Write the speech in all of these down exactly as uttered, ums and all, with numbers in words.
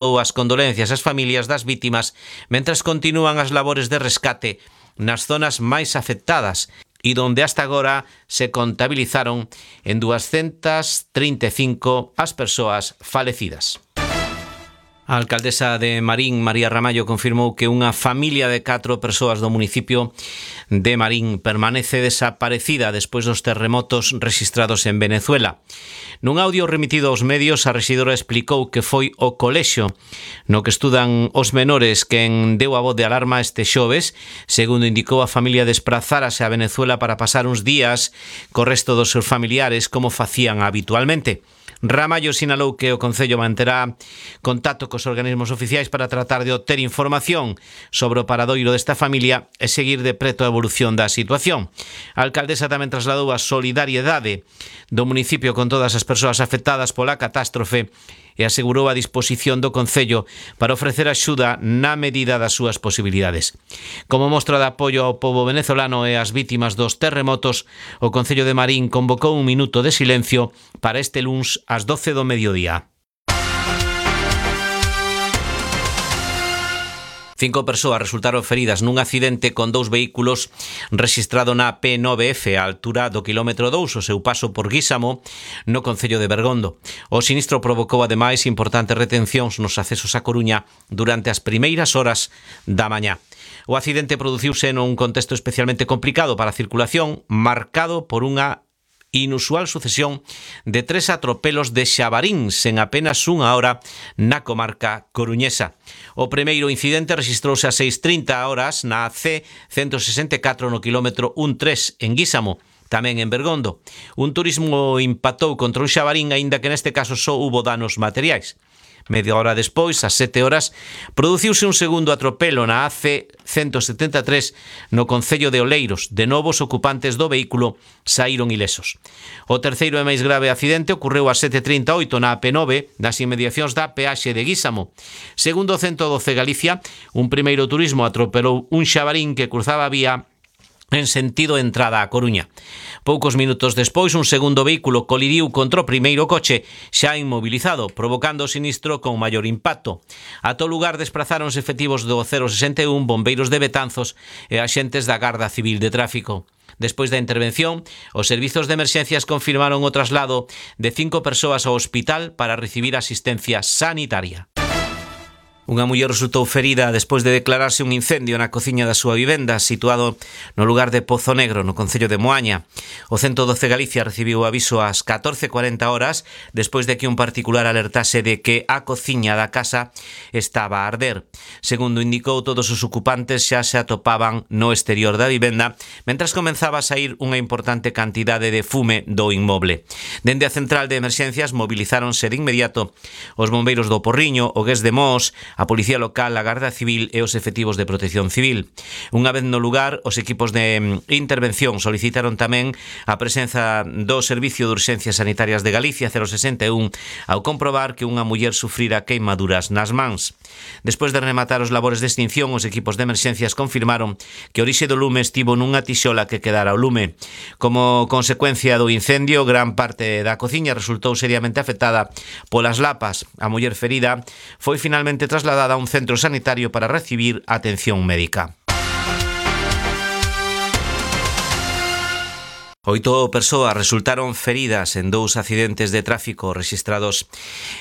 as condolencias ás familias das vítimas mentras continúan as labores de rescate nas zonas máis afectadas e donde hasta agora se contabilizaron en doscientas trinta e cinco as persoas falecidas. A alcaldesa de Marín, María Ramallo, confirmou que unha familia de catro persoas do municipio de Marín permanece desaparecida despois dos terremotos rexistrados en Venezuela. Nun audio remitido aos medios, a rexidora explicou que foi o colexio no que estudan os menores quen deu a voz de alarma este xoves. Segundo indicou, a familia desprazárase a Venezuela para pasar uns días co resto dos seus familiares como facían habitualmente. Ramallo sinalou que o Concello manterá contacto cos organismos oficiais para tratar de obter información sobre o paradoiro desta familia e seguir de preto a evolución da situación. A alcaldesa tamén trasladou a solidariedade do municipio con todas as persoas afectadas pola catástrofe e asegurou a disposición do Concello para ofrecer axuda na medida das súas posibilidades. Como mostra de apoio ao pobo venezolano e ás vítimas dos terremotos, o Concello de Marín convocou un minuto de silencio para este luns ás doce do mediodía. Cinco persoas resultaron feridas nun accidente con dous vehículos rexistrado na P nove F á altura do quilómetro dous, o seu paso por Guísamo, no concello de Bergondo. O sinistro provocou ademais importantes retencións nos accesos a Coruña durante as primeiras horas da mañá. O accidente produciuse nun contexto especialmente complicado para a circulación, marcado por unha inusual sucesión de tres atropelos de xabaríns en apenas unha hora na comarca coruñesa. O primeiro incidente rexistrouse a seis trinta horas na C ciento sesenta e catro no quilómetro trece en Guísamo, tamén en Bergondo. Un turismo impactou contra un xabarín, aínda que neste caso só hubo danos materiais. Media hora despois, ás sete horas, produciuse un segundo atropelo na A C ciento setenta e tres no concello de Oleiros. De novo, os ocupantes do vehículo saíron ilesos. O terceiro e máis grave accidente ocorreu ás sete trinta e oito na A P nove, nas inmediacións da peaxe de Guísamo. Segundo o ciento doce Galicia, un primeiro turismo atropelou un xabarín que cruzaba a vía en sentido entrada a Coruña. Poucos minutos despois, un segundo vehículo colidiu contra o primeiro coche xa inmobilizado, provocando o sinistro con maior impacto. A todo lugar desprazáronse efectivos do cero sesenta e un, bombeiros de Betanzos e axentes da Garda Civil de Tráfico. Despois da intervención, os servizos de emerxencias confirmaron o traslado de cinco persoas ao hospital para recibir asistencia sanitaria. Unha muller resultou ferida despois de declararse un incendio na cociña da súa vivenda situado no lugar de Pozo Negro, no concello de Moaña. O ciento doce Galicia recibiu o aviso ás catorce cuarenta horas despois de que un particular alertase de que a cociña da casa estaba a arder. Segundo indicou, todos os ocupantes xa se atopaban no exterior da vivenda mentras comenzaba a sair unha importante cantidade de fume do inmoble. Dende a central de emerxencias mobilizáronse de inmediato os bombeiros do Porriño, o Gués de Mos, a Policía Local, a Garda Civil e os efectivos de Protección Civil. Unha vez no lugar, os equipos de intervención solicitaron tamén a presenza do Servicio de Urxencias Sanitarias de Galicia cero sesenta e un ao comprobar que unha muller sufrira queimaduras nas mans. Despois de rematar os labores de extinción, os equipos de emerxencias confirmaron que a orixe do lume estivo nunha tixola que quedara ao lume. Como consecuencia do incendio, gran parte da cociña resultou seriamente afectada polas lapas. A muller ferida foi finalmente trasladada a un centro sanitario para recibir atención médica. Oito persoas resultaron feridas en dous accidentes de tráfico rexistrados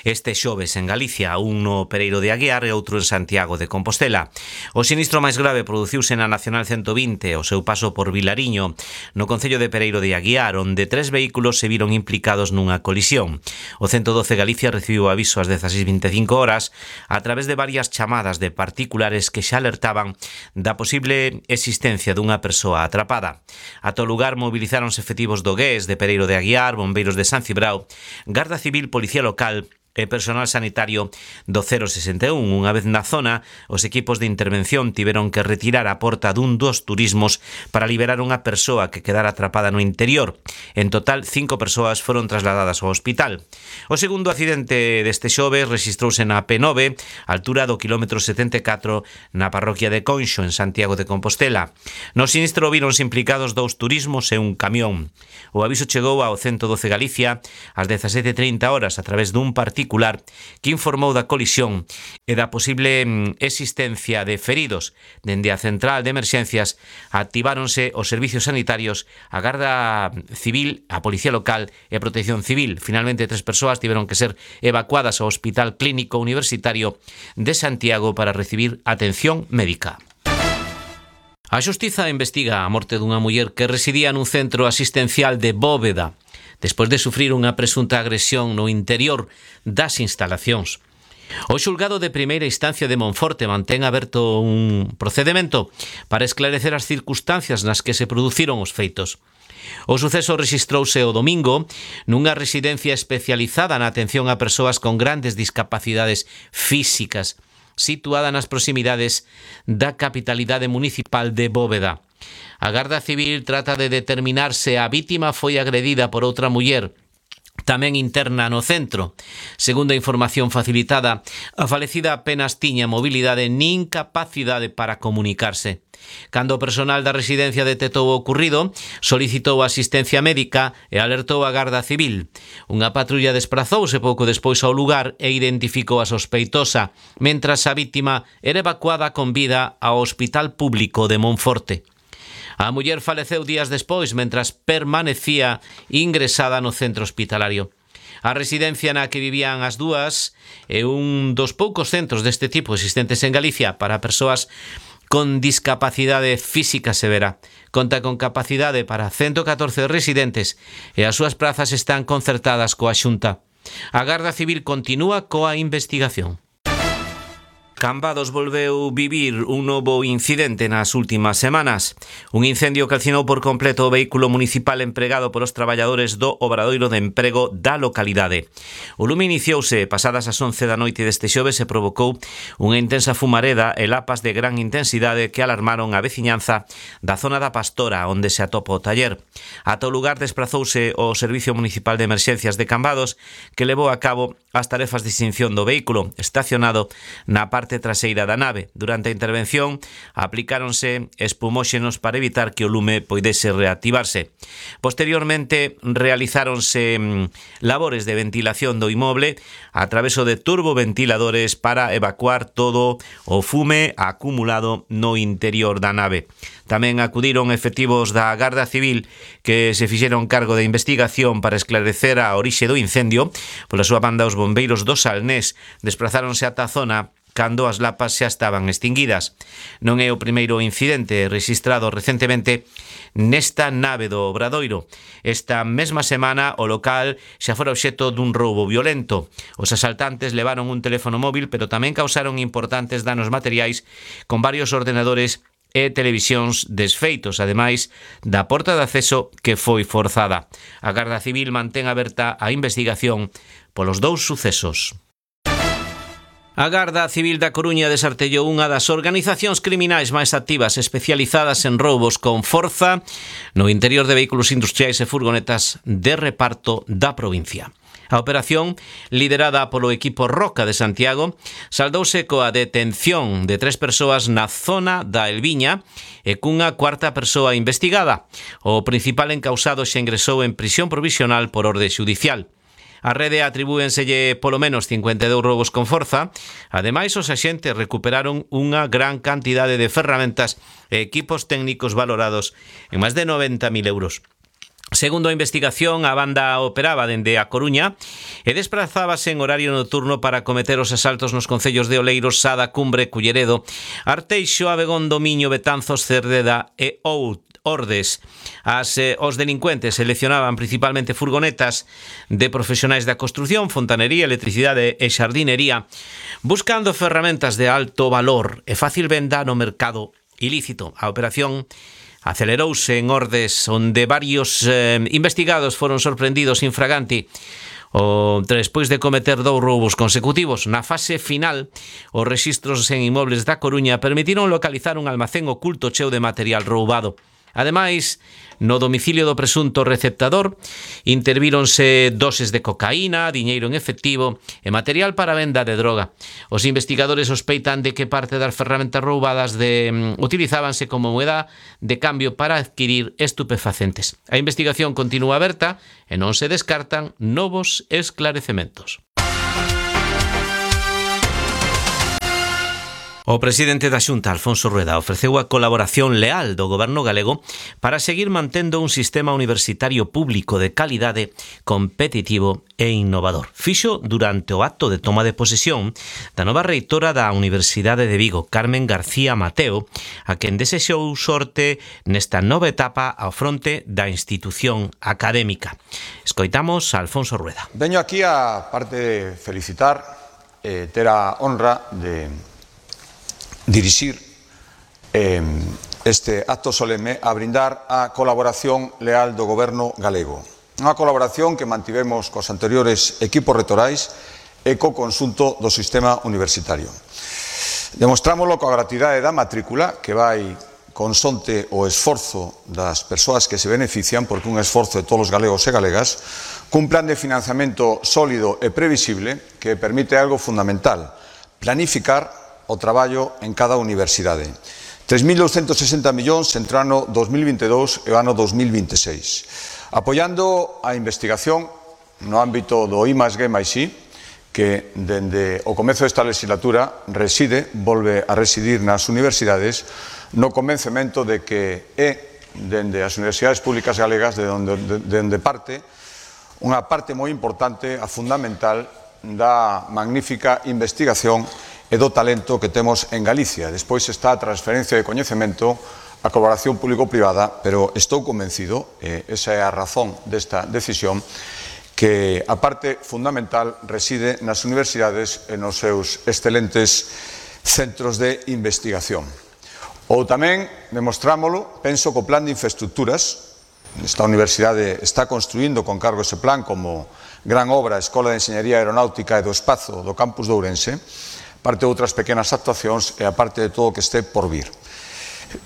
este xoves en Galicia, un no Pereiro de Aguiar e outro en Santiago de Compostela. O sinistro máis grave produciuse na Nacional ciento vinte, o seu paso por Vilariño, no concello de Pereiro de Aguiar, onde tres vehículos se viron implicados nunha colisión. O ciento doce Galicia recibiu aviso ás dezaseis vinte e cinco horas a través de varias chamadas de particulares que xa alertaban da posible existencia dunha persoa atrapada. A todo lugar movilizaron efectivos do Gués, de Pereiro de Aguiar, bombeiros de San Cibrao, Garda Civil, Policía Local e personal sanitario do cero sesenta e un. Unha vez na zona, os equipos de intervención tiveron que retirar a porta dun dos turismos para liberar unha persoa que quedara atrapada no interior. En total, cinco persoas foron trasladadas ao hospital. O segundo accidente deste xoves rexistrouse na P nove, altura do quilómetro setenta e catro, na parroquia de Conxo, en Santiago de Compostela. No sinistro víronse implicados dous turismos e un camión. O aviso chegou ao ciento doce Galicia ás dezasete trinta horas a través dun partido particular que informou da colisión e da posible existencia de feridos. Dende a central de emerxencias activáronse os servicios sanitarios, a Garda Civil, a Policía Local e a Protección Civil. Finalmente, tres persoas tiveron que ser evacuadas ao Hospital Clínico Universitario de Santiago para recibir atención médica. A Xustiza investiga a morte dunha muller que residía nun centro asistencial de Bóveda, despois de sufrir unha presunta agresión no interior das instalacións. O xulgado de primeira instancia de Monforte mantén aberto un procedemento para esclarecer as circunstancias nas que se produciron os feitos. O suceso rexistrouse o domingo nunha residencia especializada na atención a persoas con grandes discapacidades físicas, situada nas proximidades da capitalidade municipal de Bóveda. A Garda Civil trata de determinar se a vítima foi agredida por outra muller tamén interna no centro. Segundo a información facilitada, a falecida apenas tiña mobilidade nin capacidade para comunicarse. Cando o personal da residencia detectou o ocurrido, solicitou asistencia médica e alertou a Garda Civil. Unha patrulla desprazouse pouco despois ao lugar e identificou a sospeitosa, mentras a vítima era evacuada con vida ao Hospital Público de Monforte. A muller faleceu días despois, mentras permanecía ingresada no centro hospitalario. A residencia na que vivían as dúas é un dos poucos centros deste tipo existentes en Galicia para persoas con discapacidade física severa. Conta con capacidade para ciento catorce residentes e as súas prazas están concertadas coa Xunta. A Garda Civil continúa coa investigación. Cambados volveu vivir un novo incidente nas últimas semanas. Un incendio calcinou por completo o vehículo municipal empregado polos traballadores do Obradoiro de Emprego da localidade. O lume iniciouse pasadas as once da noite deste xoves e provocou unha intensa fumareda e lapas de gran intensidade que alarmaron a veciñanza da zona da Pastora, onde se atopa o taller. Ata o lugar desprazouse o Servicio Municipal de Emerxencias de Cambados, que levou a cabo as tarefas de extinción do vehículo estacionado na parte traseira da nave. Durante a intervención aplicáronse espumóxenos para evitar que o lume poidese reactivarse. Posteriormente realizáronse labores de ventilación do inmoble a traveso de turboventiladores para evacuar todo o fume acumulado no interior da nave. Tamén acudiron efectivos da Garda Civil que se fixeron cargo de investigación para esclarecer a orixe do incendio. Pola súa banda, os bombeiros do Salnés desprazáronse ata a zona cando as lapas xa estaban extinguidas. Non é o primeiro incidente rexistrado recentemente nesta nave do Obradoiro. Esta mesma semana o local xa fora obxecto dun roubo violento. Os asaltantes levaron un teléfono móvil, pero tamén causaron importantes danos materiais con varios ordenadores e televisións desfeitos, ademais da porta de acceso que foi forzada. A Garda Civil mantén aberta a investigación polos dous sucesos. A Garda Civil da Coruña desartellou unha das organizacións criminais máis activas especializadas en roubos con forza no interior de vehículos industriais e furgonetas de reparto da provincia. A operación, liderada polo equipo Roca de Santiago, saldouse coa detención de tres persoas na zona da Elviña e cunha cuarta persoa investigada. O principal encausado xa ingresou en prisión provisional por orde xudicial. A rede atribúenselle polo menos cincuenta e dous roubos con forza. Ademais, os axentes recuperaron unha gran cantidade de ferramentas e equipos técnicos valorados en máis de noventa mil euros. Segundo a investigación, a banda operaba dende a Coruña e desprazábase en horario nocturno para cometer os asaltos nos concellos de Oleiros, Sada, Cumbre, Culleredo, Arteixo, Abegondo, Miño, Betanzos, Cerdeda e Ordes. As, eh, os delincuentes seleccionaban principalmente furgonetas de profesionais da construción, fontanería, electricidade e xardinería, buscando ferramentas de alto valor e fácil venda no mercado ilícito. A operación acelerouse en Ordes, onde varios eh, investigados foron sorprendidos infraganti o despois de cometer dous roubos consecutivos. Na fase final, os rexistros en inmobles da Coruña permitiron localizar un almacén oculto cheo de material roubado. Ademais, no domicilio do presunto receptador intervíronse doses de cocaína, diñeiro en efectivo e material para venda de droga. Os investigadores sospeitan de que parte das ferramentas roubadas de, um, utilizábanse como moeda de cambio para adquirir estupefacentes. A investigación continúa aberta e non se descartan novos esclarecementos. O presidente da Xunta, Alfonso Rueda, ofreceu a colaboración leal do goberno galego para seguir mantendo un sistema universitario público de calidade, competitivo e innovador. Fixo durante o acto de toma de posesión da nova reitora da Universidade de Vigo, Carmen García Mateo, a quen desexou sorte nesta nova etapa ao fronte da institución académica. Escoitamos a Alfonso Rueda. Veño aquí a parte de felicitar, eh, ter a honra de dirixir eh, este acto solemne a brindar a colaboración leal do goberno galego. Unha colaboración que mantivemos cos anteriores equipos retorais e co conxunto do sistema universitario. Demostrámoslo coa gratuidade da matrícula, que vai consonte o esforzo das persoas que se benefician, porque un esforzo de todos os galegos e galegas, cun plan de financiamento sólido e previsible que permite algo fundamental: planificar o traballo en cada universidade. tres mil douscentos e sesenta millóns entre o ano dos mil vinte e dous e o ano dos mil vinte e seis. Apoiando a investigación no ámbito do I máis G máis I, que dende o comezo desta legislatura reside, volve a residir nas universidades, no convencemento de que é dende as universidades públicas galegas de onde, de, de onde parte unha parte moi importante, a fundamental, da magnífica investigación e do talento que temos en Galicia. Despois está a transferencia de coñecemento, a colaboración público-privada, pero estou convencido, e esa é a razón desta decisión, que a parte fundamental reside nas universidades e nos seus excelentes centros de investigación. Ou tamén demostrámolo, penso, co plan de infraestructuras. Esta universidade está construindo con cargo ese plan como gran obra a Escola de Enxeñería Aeronáutica e do Espazo do campus de Ourense, parte de outras pequenas actuacións e a parte de todo o que este por vir.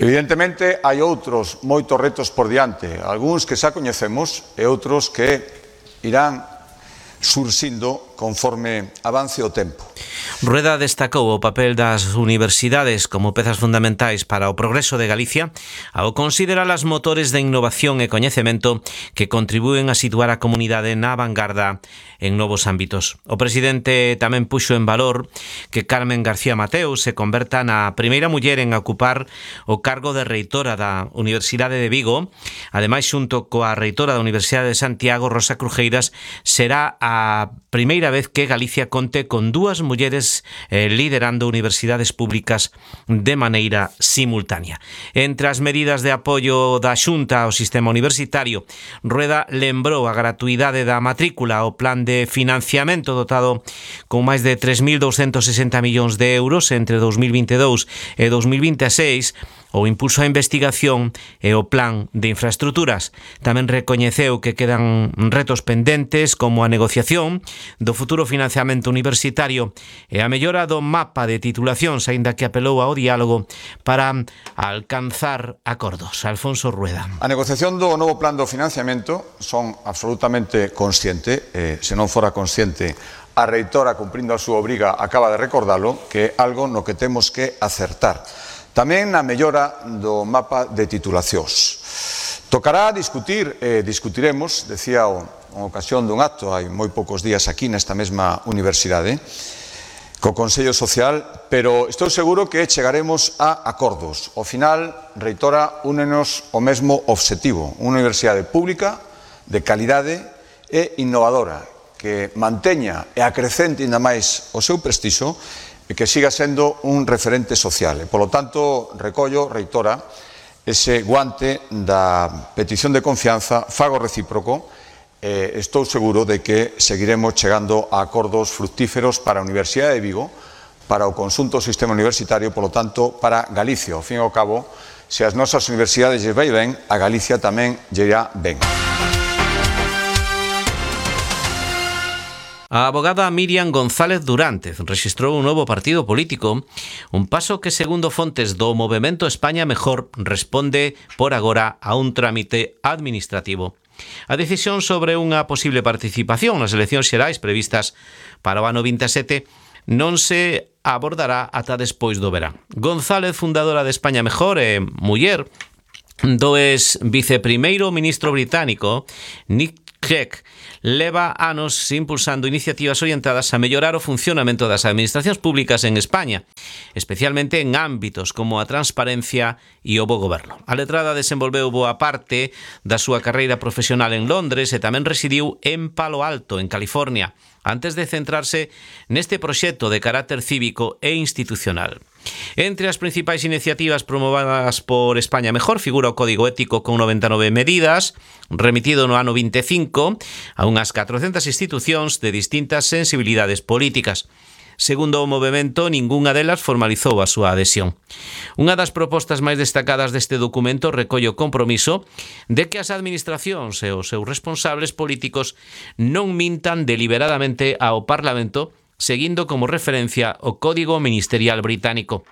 Evidentemente, hai outros moitos retos por diante, algúns que xa coñecemos e outros que irán surxindo conforme avance o tempo. Rueda destacou o papel das universidades como pezas fundamentais para o progreso de Galicia ao considerar as motores de innovación e coñecemento que contribúen a situar a comunidade na vanguarda en novos ámbitos. O presidente tamén puxo en valor que Carmen García Mateo se converta na primeira muller en ocupar o cargo de reitora da Universidade de Vigo. Ademais, xunto coa reitora da Universidade de Santiago, Rosa Crujeiras, será a primeira vez que Galicia conte con dúas mulleres eh, liderando universidades públicas de maneira simultánea. Entre as medidas de apoio da Xunta ao sistema universitario, Rueda lembrou a gratuidade da matrícula, o plan de financiamento dotado con máis de tres mil douscentos e sesenta millóns de euros entre dos mil vinte e dous e dos mil vinte e seis, o impulso á investigación e o plan de infraestructuras. Tamén recoñeceu que quedan retos pendentes como a negociación do futuro financiamento universitario e a mellora do mapa de titulacións, aínda que apelou ao diálogo para alcanzar acordos. Alfonso Rueda. A negociación do novo plan do financiamento son absolutamente consciente, eh, se non fora consciente, a reitora, cumprindo a súa obriga, acaba de recordalo, que é algo no que temos que acertar. Tamén na mellora do mapa de titulacións. Tocará discutir, eh, discutiremos, decía o, en ocasión dun acto, hai moi poucos días aquí nesta mesma universidade, co Consello Social, pero estou seguro que chegaremos a acordos. Ao final, reitora, únenos o mesmo obxectivo, unha universidade pública, de calidade e innovadora, que manteña e acrecente ainda máis o seu prestixo e que siga sendo un referente social. E, polo tanto, recollo, reitora, ese guante da petición de confianza, fago recíproco, e estou seguro de que seguiremos chegando a acordos fructíferos para a Universidade de Vigo, para o conxunto do sistema universitario, polo tanto, para Galicia. Ao fin e ao cabo, se as nosas universidades lle vai ben, a Galicia tamén lle irá ben. A abogada Miriam González Durante rexistrou un novo partido político, un paso que, segundo fontes do Movemento España Mejor, responde por agora a un trámite administrativo. A decisión sobre unha posible participación nas eleccións xerais previstas para o ano vinte e sete non se abordará ata despois do verán. González, fundadora de España Mejor e muller do ex viceprimeiro ministro británico Nick Clegg, leva anos impulsando iniciativas orientadas a mellorar o funcionamento das administracións públicas en España. especialmente en ámbitos como a transparencia e o bo goberno. A letrada desenvolveu boa parte da súa carreira profesional en Londres e tamén residiu en Palo Alto, en California, antes de centrarse neste proxecto de carácter cívico e institucional. Entre as principais iniciativas promovidas por España Mejor figura o Código Ético con noventa e nove medidas, remitido no ano vinte e cinco a unhas catrocentas institucións de distintas sensibilidades políticas. Segundo o movemento, ningunha delas formalizou a súa adhesión. Unha das propostas máis destacadas deste documento recolle o compromiso de que as administracións e os seus responsables políticos non mintan deliberadamente ao Parlamento, seguindo como referencia o Código Ministerial británico.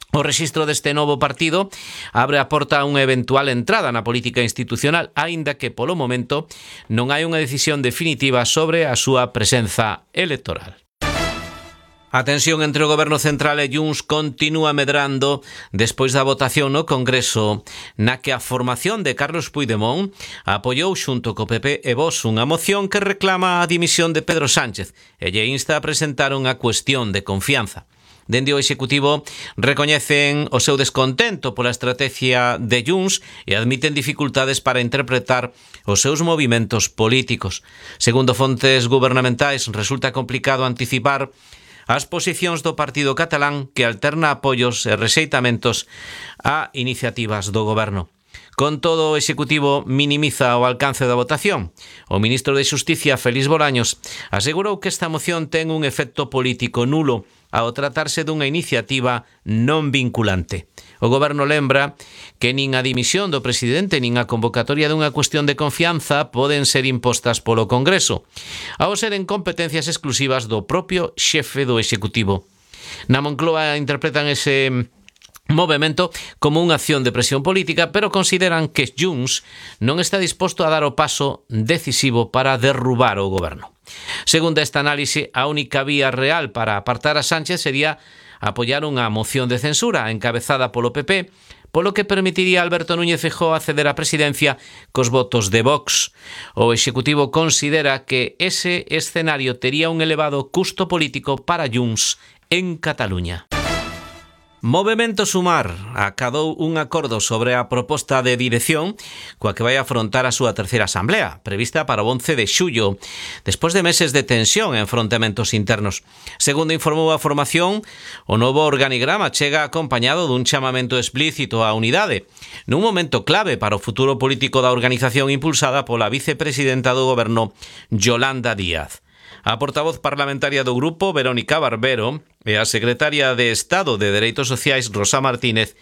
O rexistro deste novo partido abre a porta a unha eventual entrada na política institucional, aínda que polo momento non hai unha decisión definitiva sobre a súa presenza electoral. A tensión entre o Goberno Central e Junts continúa medrando despois da votación no Congreso na que a formación de Carlos Puigdemont apoiou xunto co P P e Vox unha moción que reclama a dimisión de Pedro Sánchez e lle insta a presentar unha cuestión de confianza. Dende o Executivo recoñecen o seu descontento pola estrategia de Junts e admiten dificultades para interpretar os seus movimentos políticos. Segundo fontes gubernamentais, resulta complicado anticipar as posicións do partido catalán que alterna apoios e rexeitamentos a iniciativas do goberno. Con todo, o Executivo minimiza o alcance da votación. O ministro de Xusticia, Félix Bolaños, asegurou que esta moción ten un efecto político nulo ao tratarse dunha iniciativa non vinculante. O goberno lembra que nin a dimisión do presidente nin a convocatoria dunha cuestión de confianza poden ser impostas polo Congreso, ao seren competencias exclusivas do propio xefe do Executivo. Na Moncloa interpretan ese movemento como unha acción de presión política, pero consideran que Junts non está disposto a dar o paso decisivo para derrubar o goberno. Segundo esta análise, a única vía real para apartar a Sánchez sería apoiar unha moción de censura encabezada polo P P, polo que permitiría a Alberto Núñez Feijóo acceder á presidencia cos votos de Vox. O Executivo considera que ese escenario tería un elevado custo político para Junts en Cataluña. Movemento Sumar acadou un acordo sobre a proposta de dirección coa que vai afrontar a súa terceira asamblea, prevista para o once de xullo, despois de meses de tensión e enfrontamentos internos. Segundo informou a formación, o novo organigrama chega acompañado dun chamamento explícito á unidade, nun momento clave para o futuro político da organización impulsada pola vicepresidenta do goberno, Yolanda Díaz. A portavoz parlamentaria do grupo, Verónica Barbero, e a secretaria de Estado de Dereitos Sociais, Rosa Martínez,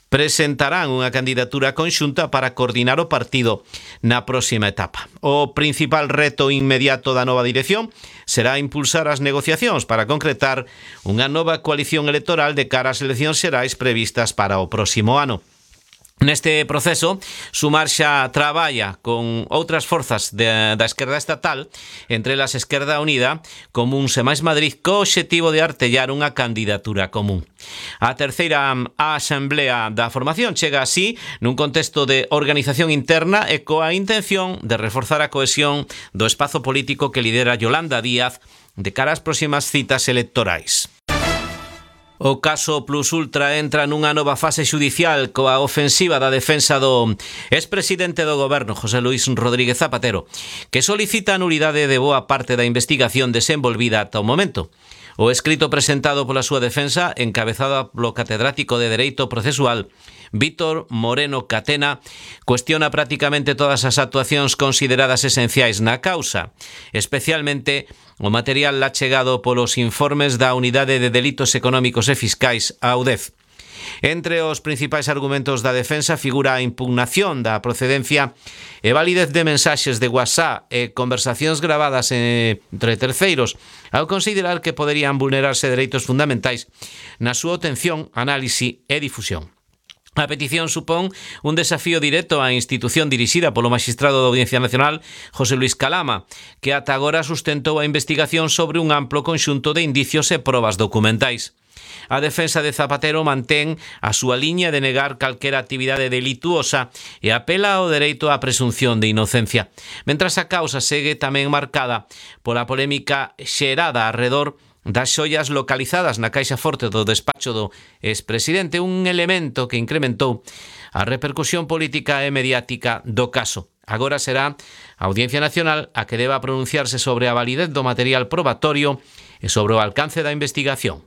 presentarán unha candidatura conxunta para coordinar o partido na próxima etapa. O principal reto inmediato da nova dirección será impulsar as negociacións para concretar unha nova coalición electoral de cara ás eleccións xerais previstas para o próximo ano. Neste proceso, Sumar xa traballa con outras forzas de, da esquerda estatal, entre elas Esquerda Unida, Comuns e Mais Madrid, co obxectivo de artellar unha candidatura común. A terceira asamblea da formación chega así nun contexto de organización interna e coa intención de reforzar a cohesión do espazo político que lidera Yolanda Díaz de cara ás próximas citas electorais. O caso Plus Ultra entra nunha nova fase xudicial coa ofensiva da defensa do expresidente do goberno, José Luis Rodríguez Zapatero, que solicita a nulidade de boa parte da investigación desenvolvida ata o momento. O escrito presentado pola súa defensa, encabezado polo catedrático de Dereito Procesual, Víctor Moreno Catena, cuestiona prácticamente todas as actuacións consideradas esenciais na causa, especialmente o material achegado polos informes da Unidade de Delitos Económicos e Fiscais, a U D E F. Entre os principais argumentos da defensa figura a impugnación da procedencia e validez de mensaxes de WhatsApp e conversacións gravadas entre terceiros, ao considerar que poderían vulnerarse dereitos fundamentais na súa obtención, análise e difusión. A petición supón un desafío directo á institución dirixida polo magistrado da Audiencia Nacional, José Luis Calama, que ata agora sustentou a investigación sobre un amplo conxunto de indicios e probas documentais. A defensa de Zapatero mantén a súa liña de negar calquera actividade delituosa e apela ao dereito á presunción de inocencia, mentras a causa segue tamén marcada pola polémica xerada arredor das xoias localizadas na caixa forte do despacho do expresidente, un elemento que incrementou a repercusión política e mediática do caso. Agora será a Audiencia Nacional a que deba pronunciarse sobre a validez do material probatorio e sobre o alcance da investigación.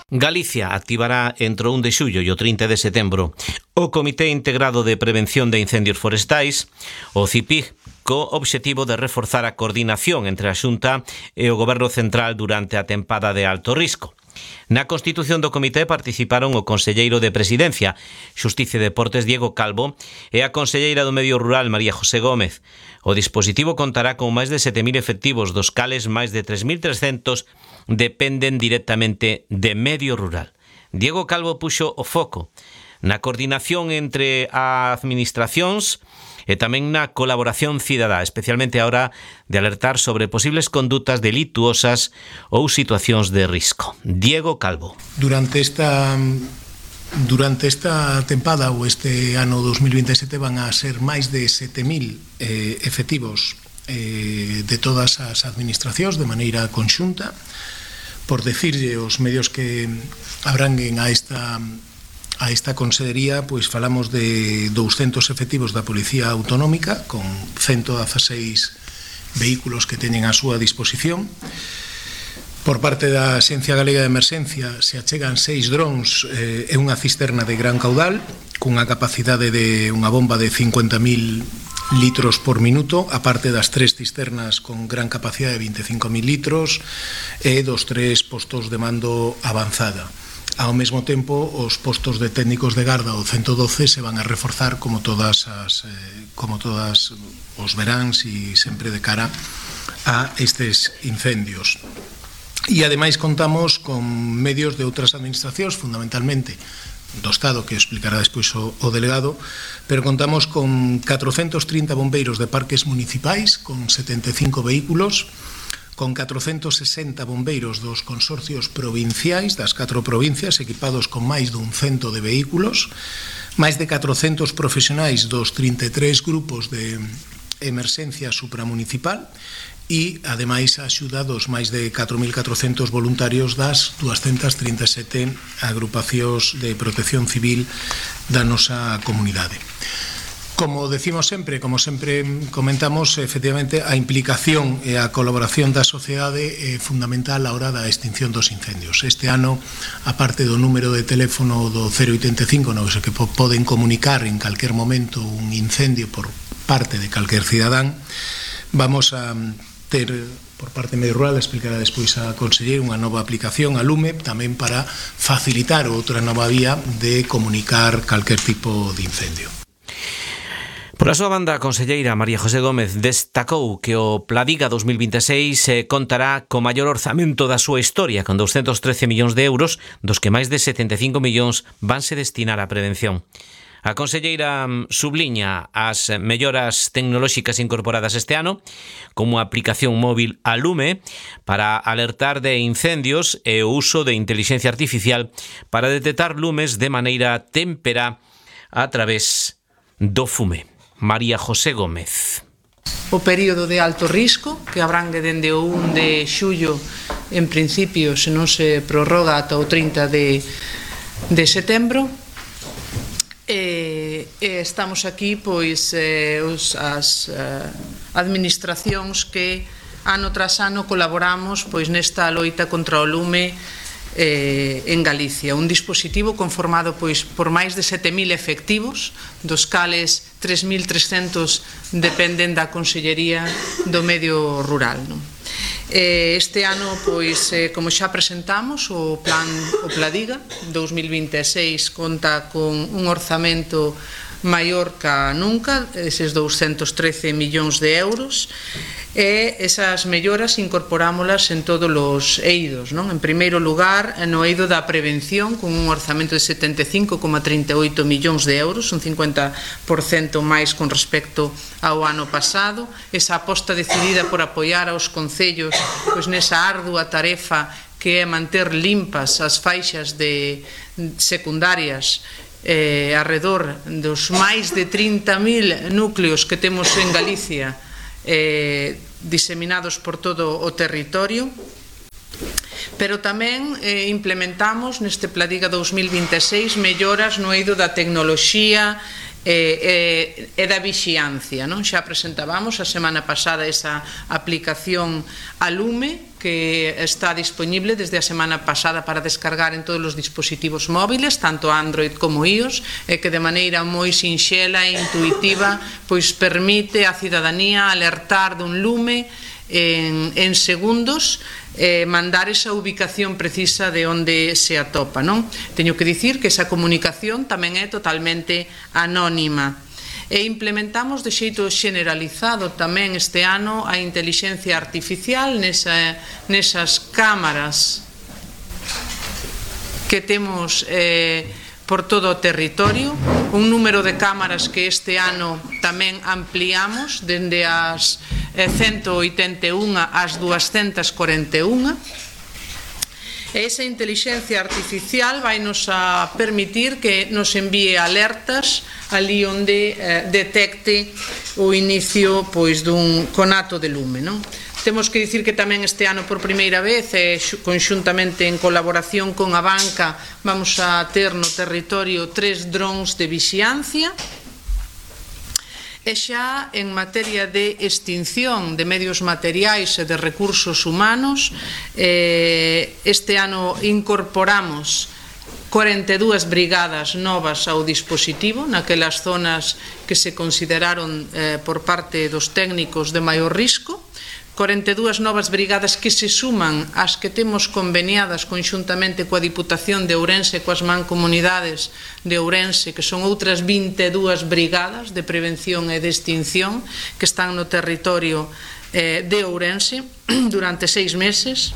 Galicia activará entre o un de xullo e o trinta de setembro o Comité Integrado de Prevención de Incendios Forestais, o C I P I G, co obxectivo de reforzar a coordinación entre a Xunta e o Goberno Central durante a tempada de alto risco. Na constitución do comité participaron o conselleiro de Presidencia, Xusticia e Deportes, Diego Calvo, e a conselleira do Medio Rural, María José Gómez. O dispositivo contará con máis de sete mil efectivos, dos cales máis de tres mil trescentos dependen directamente de Medio Rural. Diego Calvo puxo o foco na coordinación entre as administracións e tamén na colaboración cidadá, especialmente a hora de alertar sobre posibles condutas delituosas ou situacións de risco. Diego Calvo. Durante esta durante esta tempada ou este ano dos mil veintesete van a ser máis de sete mil eh, efectivos eh, de todas as administracións de maneira conxunta. Por decirlle os medios que abranguen a esta A esta consellería, pois falamos de douscentos efectivos da Policía Autonómica con ciento dieciséis vehículos que teñen a súa disposición. Por parte da Axencia Galega de Emerxencia se achegan seis drons eh, e unha cisterna de gran caudal cunha capacidade de unha bomba de cincuenta mil litros por minuto, aparte das tres cisternas con gran capacidade de veinticinco mil litros e dos tres postos de mando avanzada. Ao mesmo tempo, os postos de técnicos de garda do ciento doce se van a reforzar como todas as eh, como todas os veráns e sempre de cara a estes incendios. E ademais contamos con medios de outras administracións, fundamentalmente do Estado, que explicará despois o, o delegado, pero contamos con catrocentos trinta bombeiros de parques municipais, con setenta e cinco vehículos, con catrocentos sesenta bombeiros dos consorcios provinciais das catro provincias equipados con máis dun cento de vehículos, máis de catrocentos profesionais dos trinta e tres grupos de emerxencia supramunicipal e, ademais, a axuda dos máis de catro mil catrocentos voluntarios das duascentas trinta e sete agrupacións de protección civil da nosa comunidade. Como decimos sempre, como sempre comentamos, efectivamente, a implicación e a colaboración da sociedade é fundamental á hora da extinción dos incendios. Este ano, a parte do número de teléfono do cero oitenta e cinco, no que poden comunicar en calquer momento un incendio por parte de calquer cidadán, vamos a ter, por parte medio rural, explicará despois a conselleira, unha nova aplicación a Lume, tamén para facilitar outra nova vía de comunicar calquer tipo de incendio. Por a súa banda, a conselleira María José Gómez destacou que o Pladiga dos mil veintiséis eh, contará co maior orzamento da súa historia, con doscientos trece millóns de euros, dos que máis de setenta e cinco millóns vanse destinar á prevención. A conselleira subliña as melloras tecnolóxicas incorporadas este ano, como a aplicación móvil a Lume para alertar de incendios e o uso de inteligencia artificial para detectar lumes de maneira témpera a través do fume. María José Gómez. O período de alto risco, que abrangue dende o un de xullo, en principio, se non se prorroga ata o trinta de setembro, e estamos aquí, pois, as administracións que ano tras ano colaboramos pois nesta loita contra o lume Eh, en Galicia, un dispositivo conformado pois por máis de sete mil efectivos, dos cales tres mil trescentos dependen da Consellería do Medio Rural, non? Eh, este ano, pois, eh, como xa presentamos, o plan o Pladiga dos mil veintiséis conta con un orzamento maior ca nunca, eses doscientos trece millóns de euros, e esas melloras incorporámolas en todos os eidos, non? En primeiro lugar, no eido da prevención, con un orzamento de setenta e cinco coma trinta e oito millóns de euros, un cincuenta por cento máis con respecto ao ano pasado. Esa aposta decidida por apoiar aos concellos pois nesa ardua tarefa que é manter limpas as faixas de secundarias eh, arredor dos máis de trinta mil núcleos que temos en Galicia, eh, diseminados por todo o territorio, pero tamén eh, implementamos neste Pladiga dous mil vinte e seis melloras no eido da tecnoloxía e, e, e da vixiancia, non? Xa presentábamos a semana pasada esa aplicación a Lume que está disponible desde a semana pasada para descargar en todos os dispositivos móviles, tanto Android como iOS, e que de maneira moi sinxela e intuitiva pois permite á cidadanía alertar dun lume en, en segundos, eh, mandar esa ubicación precisa de onde se atopa, non? Teño que dicir que esa comunicación tamén é totalmente anónima. E implementamos de xeito generalizado tamén este ano a intelixencia artificial nesa, nesas cámaras que temos eh, por todo o territorio, un número de cámaras que este ano tamén ampliamos dende as ciento oitenta e un ás duascentas corenta e un. E esa intelixencia artificial vai nos a permitir que nos envíe alertas ali onde eh, detecte o inicio pois dun conato de lume, non? Temos que dicir que tamén este ano por primeira vez e conxuntamente en colaboración con a banca vamos a ter no territorio tres drons de vixiancia. E xa en materia de extinción de medios materiais e de recursos humanos, eh, este ano incorporamos corenta e dúas brigadas novas ao dispositivo naquelas zonas que se consideraron eh, por parte dos técnicos de maior risco, corenta e dúas novas brigadas que se suman ás que temos conveniadas conxuntamente coa Diputación de Ourense e coas mancomunidades de Ourense, que son outras vinte e dúas brigadas de prevención e de extinción que están no territorio eh, de Ourense durante seis meses.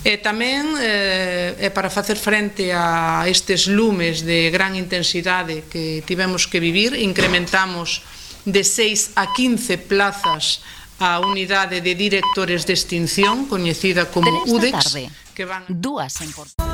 E tamén eh, e para facer frente a estes lumes de gran intensidade que tivemos que vivir, incrementamos de seis a quince plazas a unidade de directores de extinción, coñecida como U D E X, que van... Dúas en Portugal.